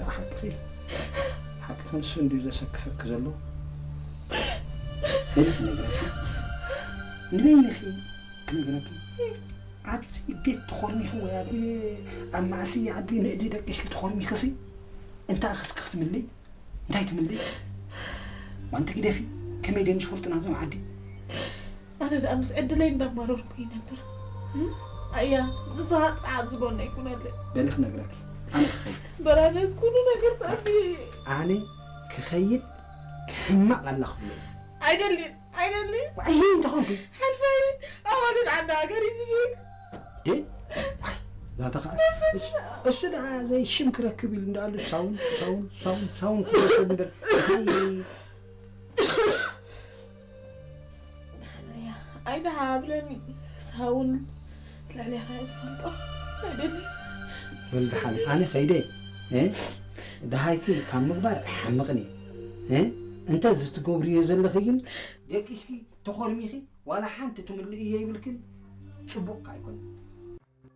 ደኣ ሓቅኺ፣ ሓቅኺ፣ ንሱ እንድዩ ዘሰክፈኪ ዘሎ። በሊ ክነግረኪ፣ ንበይንኺ ክነግረኪ። ኣብዚ ቤት ተኾርሚኺ ወይ ኣብ፣ ኣብ ማእሲ ዓቢ ንእዲ ደቂስኪ ተኾርሚኺሲ፣ እንታይ ኣኸስኪ ክትምልይ? እንታይ ትምልይ? ዋንቲ ግደፊ፣ ከመይ ደንሽ ፈልጥና ዘም ዓዲ? ኣነ ደኣ ምስ ዕድለይ እንዳማረርኩ ይነብር። ኣያ፣ ንስኻ ጥራሕ ኣብዚ ጎነይ ኩነለይ። በሊ ክነግረኪ፣ ኣነ ክኸይድ። በራደስ ኩሉ ነገር ተኣቢ። ኣነ ክኸይድ፣ ክሕመቕ ኣላ ክብሎ። ኣይደልን፣ ኣይደልን። ዋይ፣ እንታይ ኾንኩ? ሓልፋይ፣ ኣዋልድ ዓዲ ሃገር ይዝብክ። ደ? ዋይ፣ ዛታ ኸዓ። እሱ፣ እሱ ደኣ ዘይ ሽም ክረክብ ኢሉ እንዳኣሉ ሳውን፣ ሳውን፣ ሳውን፣ ሳውን ክረክብ እምበር። እንታይ ኣይትሓብለኒ። ሳውን ልዕሌኻ እየ ዝፈልጦ። ኣይደልን። በል ደሓን፣ ኣነ ኸይደ፣ እ? ደሃይኪ ካብ ምግባር ኣይሓምቕን እየ። እ? እንተ እዚ ትገብርዮ ዘለኺ ግን ደቂስኪ ተኾርሚኺ ዋላ ሓንቲ ትምልእዮ ይብልክን፣ ጽቡቕ ከኣ ኣይኮነን።